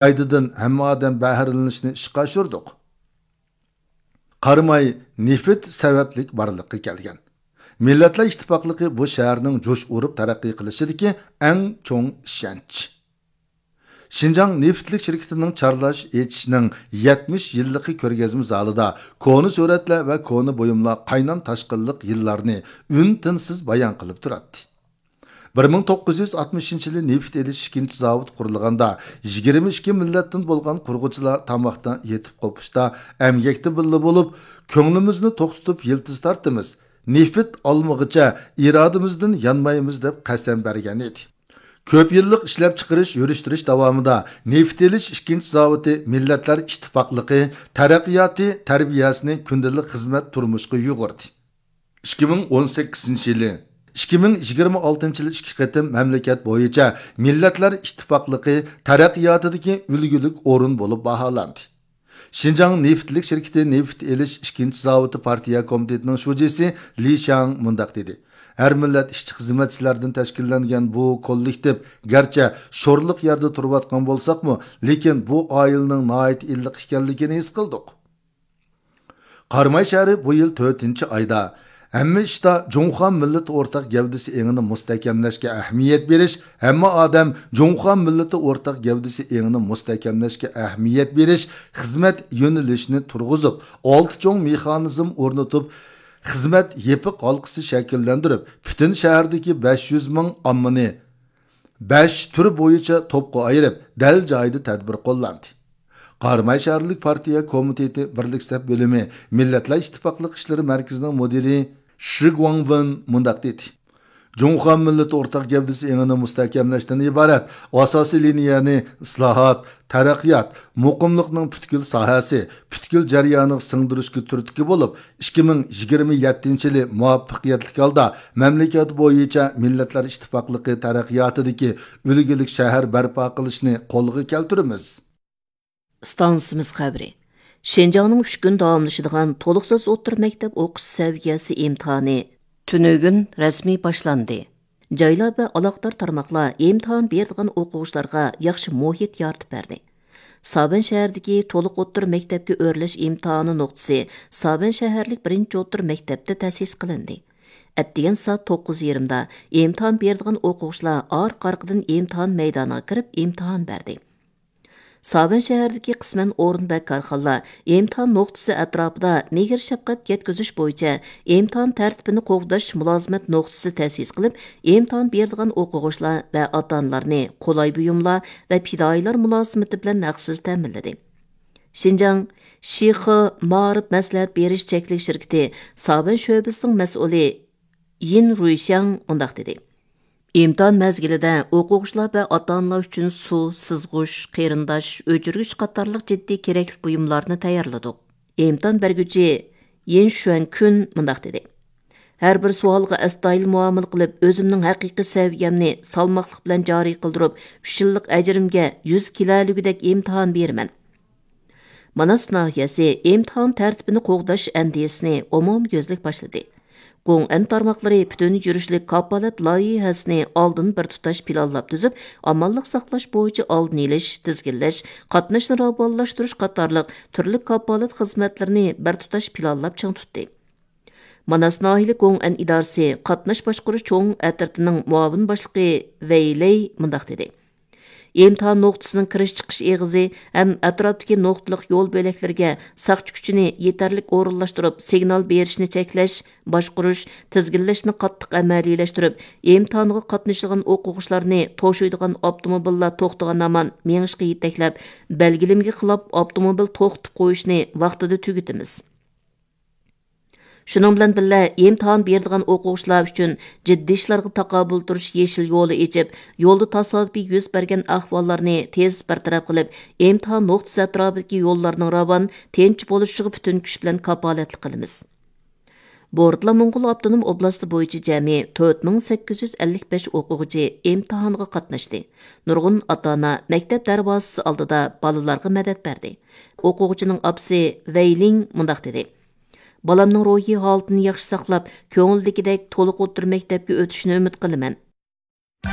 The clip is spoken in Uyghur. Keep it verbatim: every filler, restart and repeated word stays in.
پايدىدىن ھەممە ئادەم بەھرىلىنىشنى ئىشقا ئاشۇردۇق. قاراماي نېفىت سەۋەبلىك بارلىققا كەلگەن. مىللەتلەر ئىتتىپاقلىقى بۇ شەھەرنىڭ جۇش ئۇرۇپ تەرەققىي قىلىشىدىكى ئەڭ چوڭ ئىشەنچ. شىنجاڭ نېفىتلىك شىركىتىنىڭ چارلاش ئېچىشنىڭ يەتمىش يىللىقى كۆرگەزمە زالىدا كونا سۈرەتلەر ۋە كونا بۇيۇملار قاينام تاشقىنلىق يىللارنى ئۈن-تىنسىز بايان قىلىپ تۇراتتى. بىر مىڭ توققۇز يۈز ئاتمىشىنچى يىلى نېفىت ئېلىش ئىككىنچى زاۋۇتى قۇرۇلغاندا، يىگىرمە ئىككى مىللەتتىن بولغان قۇرغۇچىلار تاماقتا يېتىپ قوپۇشتا، ئەمگەكتە بىللە بولۇپ، كۆڭلىمىزنى توختىتىپ يىلتىز تارتىمىز، نېفىت ئالمىغىچە ئىرادىمىزدىن يانمايمىز دەپ قەسەم بەرگەن ئىدى. كۆپ يىللىق ئىشلەپچىقىرىش، يۈرۈشتۈرۈش داۋامىدا نېفىت ئېلىش ئىككىنچى زاۋۇتى مىللەتلەر ئىتتىپاقلىقى تەرەققىياتى تەربىيەسىنى كۈندىلىك خىزمەت تۇرمۇشقا يۇغۇردى. ئىككى مىڭ ئون سەككىزىنچى يىلى، ئىككى مىڭ يىگىرمە ئالتىنچى يىلى ئىككى قېتىم مەملىكەت بويىچە مىللەتلەر ئىتتىپاقلىقى تەرەققىياتىدىكى ئۈلگىلىك ئورۇن بولۇپ باھالاندى. شىنجاڭ نېفىتلىك شىركىتى نېفىت ئېلىش ئىككىنچى زاۋۇتى پارتىيە كومىتېتىنىڭ شۇجىسى لى شياڭ مۇنداق دېدى: ھەر مىللەت ئىشچى-خىزمەتچىلەردىن تەشكىللەنگەن بۇ كوللېكتىپ گەرچە شورلۇق يەردە تۇرۇۋاتقان بولساقمۇ، لېكىن بۇ ئائىلىنىڭ ناھايىتى ئىللىق ئىكەنلىكىنى ھېس قىلدۇق. قاراماي شەھىرى بۇ يىل تۆتىنچى ئايدا ھەممە ئىشتا جۇڭخۇا مىللىتى ئورتاق گەۋدىسى ئېڭىنى مۇستەھكەملەشكە ئەھمىيەت بېرىش، ھەممە ئادەم جۇڭخۇا مىللىتى ئورتاق گەۋدىسى ئېڭىنى مۇستەھكەملەشكە ئەھمىيەت بېرىش خىزمەت يۆنىلىشىنى تۇرغۇزۇپ، ئالتە چوڭ مېخانىزم ئورنىتىپ، خىزمەت يېپىق ھالقىسى شەكىللەندۈرۈپ، پۈتۈن شەھەردىكى بەش يۈز مىڭ ئاممىنى بەش تۈر بويىچە توپقا ئايرىپ، دەل جايىدا تەدبىر قوللاندى. قاراماي شەھەرلىك پارتىيە كومىتېتى بىرلىك سەپ بۆلۈمى مىللەتلەر ئىتتىپاقلىق ئىشلىرى مەركىزىنىڭ مۇدىرى شى گۇاڭۋېن مۇنداق دېدى: جۇڭخۇا مىللىتى ئورتاق گەۋدىسى ئېڭىنى مۇستەھكەملەشتىن ئىبارەت ئاساسىي لىنىيەنى ئىسلاھات، تەرەققىيات، مۇقىملىقنىڭ پۈتكۈل ساھەسى، پۈتكۈل جەريانىغا سىڭدۈرۈشكە تۈرتكە بولۇپ، ئىككى مىڭ يىگىرمە يەتتىنچى يىلى مۇۋەپپەقىيەتلىك ھالدا مەملىكەت بويىچە مىللەتلەر ئىتتىپاقلىقى تەرەققىياتىدىكى ئۈلگىلىك شەھەر بەرپا قىلىشنى قولغا كەلتۈرىمىز. ئىستانسىمىز خەۋىرى. شىنجاڭنىڭ ئۈچ كۈن داۋاملىشىدىغان تولۇقسىز ئوتتۇرا مەكتەپ ئوقۇش سەۋىيەسى ئىمتىھانى تۈنۈگۈن رەسمىي باشلاندى. جايلار ۋە ئالاقىدار تارماقلار ئىمتىھان بېرىدىغان ئوقۇغۇچىلارغا ياخشى مۇھىت يارىتىپ بەردى. سابەن شەھىرىدىكى تولۇق ئوتتۇرا مەكتەپكە ئۆرلەش ئىمتىھانى نۇقتىسى سابەن شەھەرلىك بىرىنچى ئوتتۇرا مەكتەپتە تەسىس قىلىندى. ئەتىگەن سائەت توققۇز يېرىمدا ئىمتىھان بېرىدىغان ئوقۇغۇچىلار ئارقا-ئارقىدىن ئىمتىھان مەيدانىغا كىرىپ ئىمتىھان بەردى. سابەن شەھىرىدىكى قىسمەن ئورۇن ۋە كارخانىلار ئىمتىھان نۇقتىسى ئەتراپىدا مېھىر-شەپقەت يەتكۈزۈش بويىچە ئىمتىھان تەرتىپىنى قوغداش مۇلازىمەت نۇقتىسى تەسىس قىلىپ، ئىمتىھان بېرىدىغان ئوقۇغۇچىلار ۋە ئاتا-ئانىلارنى قولاي بۇيۇملار ۋە پىدائىيلار مۇلازىمىتى بىلەن ھەقسىز تەمىنلىدى. شىنجاڭ شىخې مائارىپ مەسلىھەت بېرىش چەكلىك شىركىتى سابەن شۆبىسىنىڭ مەسئۇلى يىن رۇيشياڭ مۇنداق دېدى: ئىمتىھان مەزگىلىدە ئوقۇغۇچىلار ۋە ئاتا-ئانىلار ئۈچۈن سۇ، سىزغۇچ، قېرىنداش، ئۆچۈرگۈچ قاتارلىق جىددىي كېرەكلىك بۇيۇملارنى تەييارلىدۇق. ئىمتىھان بەرگۈچى يىن شۈەنكۈن مۇنداق دېدى: ھەر بىر سوئالغا ئەستايىدىل مۇئامىلە قىلىپ، ئۆزۈمنىڭ ھەقىقىي سەۋىيەمنى سالماقلىق بىلەن جارى قىلدۇرۇپ، ئۈچ يىللىق ئەجرىمگە يۈز كېلەلىگۈدەك ئىمتىھان بېرىمەن. ماناس ناھىيەسى ئىمتىھان تەرتىپىنى قوغداش ئەندىزىسىنى ئومۇميۈزلۈك باشلىدى. گوڭئەن تارماقلىرى پۈتۈن يۈرۈشلۈك كاپالەت لايىھەسىنى ئالدىن بىر تۇتاش پىلانلاپ تۈزۈپ، ئامانلىق ساقلاش بويىچە ئالدىنى ئېلىش، تىزگىنلەش، قاتناشنى راۋانلاشتۇرۇش قاتارلىق تۈرلۈك كاپالەت خىزمەتلىرىنى بىر تۇتاش پىلانلاپ چىڭ تۇتتى. ماناس ناھىيەلىك گوڭئەن ئىدارىسى قاتناش باشقۇرۇش چوڭ ئەترىتىنىڭ مۇئاۋىن باشلىقى ۋەي لەي مۇنداق دېدى: ئىمتىھان نۇقتىسىنىڭ كىرىش-چىقىش ئېغىزى ھەم ئەتراپتىكى نۇقتىلىق يول بۆلەكلىرىگە ساقچى كۈچىنى يېتەرلىك ئورۇنلاشتۇرۇپ، سىگنال بېرىشنى چەكلەش، باشقۇرۇش، تىزگىنلەشنى قاتتىق ئەمەلىيلەشتۈرۈپ، ئىمتىھانغا قاتنىشىدىغان ئوقۇغۇچىلارنى توشۇيدىغان ئاپتوموبىللار توختىغان ھامان مېڭىشقا يېتەكلەپ، بەلگىلىمىگە خىلاپ ئاپتوموبىل توختىتىپ قويۇشنى ۋاقتىدا تۈگىتىمىز. شۇنىڭ بىلەن بىللە، ئىمتىھان بېرىدىغان ئوقۇغۇچىلار ئۈچۈن جىددىي ئىشلارغا تاقابىل تۇرۇش يېشىل يولى ئېچىپ، يولدا تاسادىپىي يۈز بەرگەن ئەھۋاللارنى تېز بىر تەرەپ قىلىپ، ئىمتىھان نۇقتىسى ئەتراپىدىكى يوللارنىڭ راۋان، تىنچ بولۇشىغا پۈتۈن كۈچ بىلەن كاپالەتلىك قىلىمىز. بورتالا موڭغۇل ئاپتونوم ئوبلاستى بويىچە جەمئىي تۆت مىڭ سەككىز يۈز ئەللىك بەش ئوقۇغۇچى ئىمتىھانغا قاتناشتى. نۇرغۇن ئاتا-ئانا مەكتەپ دەرۋازىسى ئالدىدا بالىلارغا مەدەت بەردى. ئوقۇغۇچىنىڭ ئاپىسى ۋەي لىڭ مۇنداق دېدى: بالامنىڭ روھىي ھالىتىنى ياخشى ساقلاپ، كۆڭۈلدىكىدەك تولۇق ئوتتۇرا مەكتەپكە ئۆتۈشىنى ئۈمىد قىلىمەن.